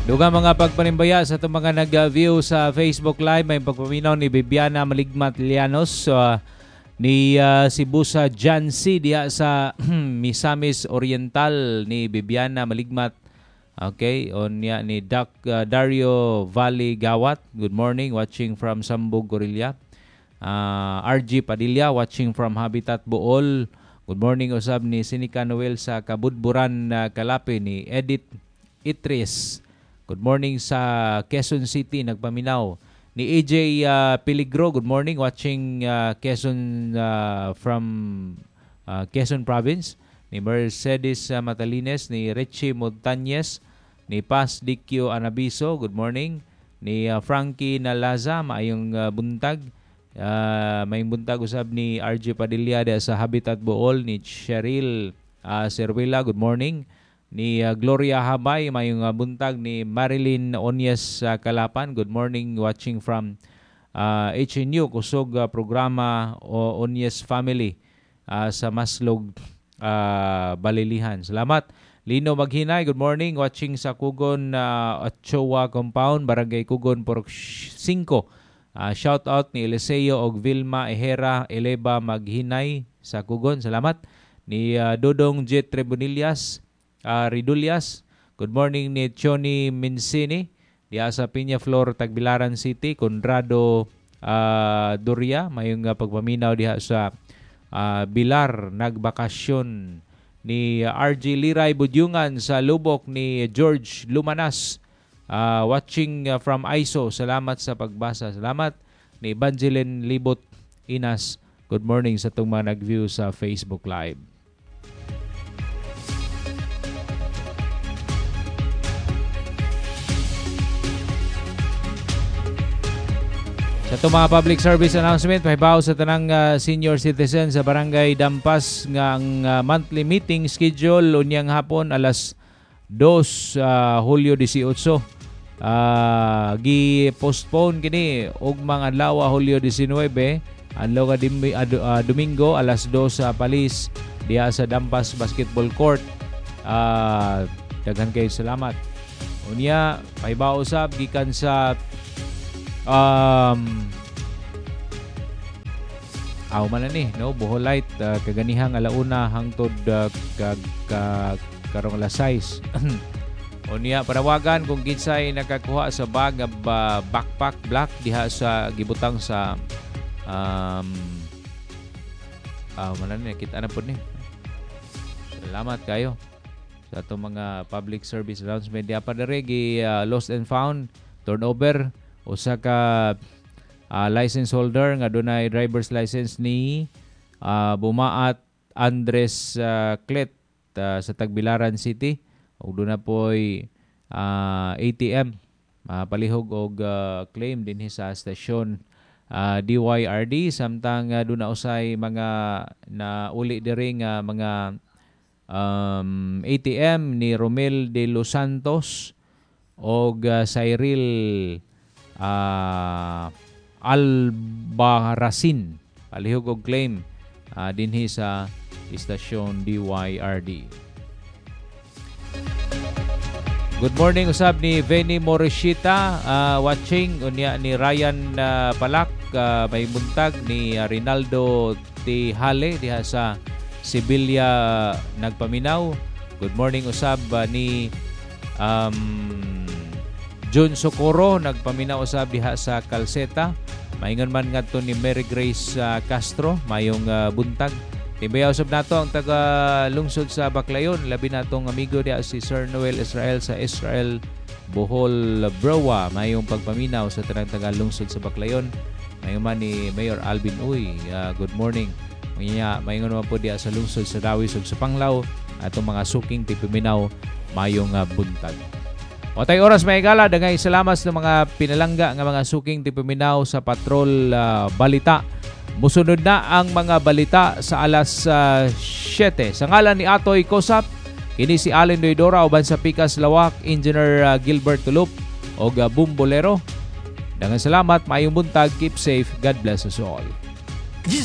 Dugang mga pagpanimbaya sa itong mga nag-view sa Facebook Live. May pagpaminaw ni Bibiana Maligmat Lianos, ni Sibusa Jancy diha sa Misamis Oriental, ni Bibiana Maligmat. Okay, onya ni Doc Dario Valley Gawat. Good morning, watching from Sambog, Gorilla. RG Padilla, watching from Habitat Bool. Good morning usab ni Sinica Noel sa Kabudburan, Kalapi, ni Edith Itris. Good morning sa Quezon City, nagpaminaw. Ni AJ Peligro, good morning, watching Quezon from Quezon Province. Ni Mercedes Matalines, ni Richie Montañez, ni Paz Dikyo Anabiso, good morning. Ni Frankie Nalaza, maayong buntag. Maayong buntag usab ni RJ Padilla sa Habitat Bool, ni Cheryl Cervela, good morning. Ni Gloria Habay, mayong buntag. Ni Marilyn Onyes Kalapan, good morning, watching from HNU, kusog programa Onyes Family sa Maslog, Balilihan. Salamat. Lino Maghinay, good morning, watching sa Kugon Ochoa Compound, Barangay Kugon, Purok 5. Shout out ni Eliseo og Vilma Ejera Eleba Maghinay sa Kugon. Salamat. Ni Dodong Jet Trebonillas Ridulias, good morning. Ni Choni Mincini diha sa Peñaflor, Tagbilaran City. Conrado Doria, mayong pagpaminaw diha sa Bilar, nagbakasyon. Ni RG Liray Budyungan sa Lubok. Ni George Lumanas, watching from ISO. Salamat sa pagbasa. Salamat. Ni Evangeline Libot Inas, good morning sa itong mga nag-view sa Facebook Live. Sa itong mga public service announcement, pahibaw sa tanang senior citizen sa Barangay Dampas nga ang monthly meeting schedule unyang hapon alas 2, Hulyo 18. Gi-postpone kini ugmang adlaw Hulyo 19, adlaw ka Domingo alas 2 sa Palis diha sa Dampas Basketball Court. Daghan kay salamat. Unya, pahibaw usab gikan sa aw man ni no Boholite kaganihang alauna hangtod karong alas 6. Unya, panawagan kung kinsay nakakuha sa bag backpack black diha sa gibutang sa aw man ni kita na pud ni. Salamat kayo sa atong mga public service announcement. Diha pa diri gi lost and found turnover usa ka license holder nga dunay driver's license ni Bumaat Andres Clet sa Tagbilaran City ug duna poy ATM palihog og claim dinhi sa stasyon DYRD, samtang duna usay mga nauli diri nga mga ATM ni Romel de Los Santos og Cyril Albarracin, palihog og claim dinhi sa istasyon DYRD. Good morning usab ni Benny Morishita, watching. Unya ni Ryan Palak, may buntag. Ni Rinaldo Tihale diha sa Sevilla nagpaminaw. Good morning usab ni John Socorro nagpaminaw usab diha sa Calceta. Maingon man ngadto ni Mary Grace Castro, mayong buntag. Tibayaw usab nato ang taga lungsod sa Baclayon, labi natong amigo diha si Sir Noel Israel sa Israel Bohol Broa, mayong pagpaminaw sa tanang taga lungsod sa Baclayon. Mayon man ni Mayor Alvin Uy, good morning. Unya maingon man po diha sa lungsod sa Dawis ug sa Panglao atong mga suking tipiminaw, mayong buntag. Otay oras may gala, daghay salamat sa mga pinalangga nga mga suking tipiminaw sa Patrol Balita. Musunod na ang mga balita sa alas 7. Sa ngalan ni Atoy Kosap, kini si Allen Doydora uban sa Pikas Lawak, Engineer Gilbert Tulup og Bumbolero. Daghang salamat, maayong buntag, keep safe, God bless us all.